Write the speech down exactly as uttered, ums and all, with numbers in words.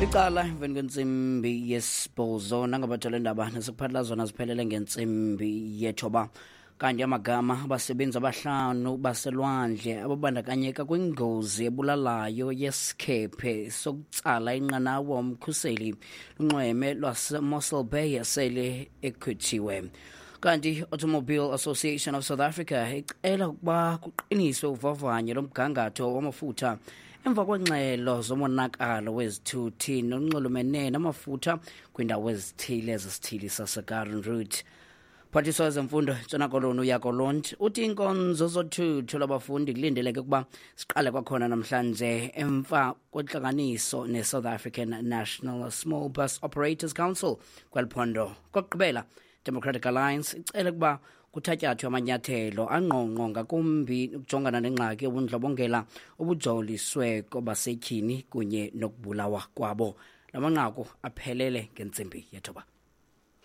Licala emveni kwentsimbi yesibhozo, nangabathole ndaba nesikuphathela zona ziphelele ngentsimbi yethoba. Kanti amagama abasebenzi abahlanu baselwandle ababandakanyeka kwingozi ebulalayo yesikhephe sokutsala inqanawa umkhuseli lunxweme lwaseMossel Bay sele ekhutshiwe. Kanti Automobile Association of South Africa icela ukuba kuqiniswe uvavanyo lomgangatho wamafutha emva kwengxelo zomonakalo wezithuthi nonxulumene namafutha kwiindawo ezithile zesithili saseGarden Route. Phathiswa wezemfundo Ntshona Koloni uJaco Londt uthi iinkonzo zothutho lwabafundi kulindeleke ukuba siqale kwakhona namhlanje emva kwentlanganiso ne-South African National Small Bus Operators Council kweli phondo. Kokugqibela, Democratic Alliance icele ukuba kuthatyathwe amanyathelo angqongqo ngakumbi ukujongana nengxaki yobundlobongela obujoliswe kwabasetyhini kunye nokubulawa kwabo. La manqaku aphelele ngentsimbi yethoba.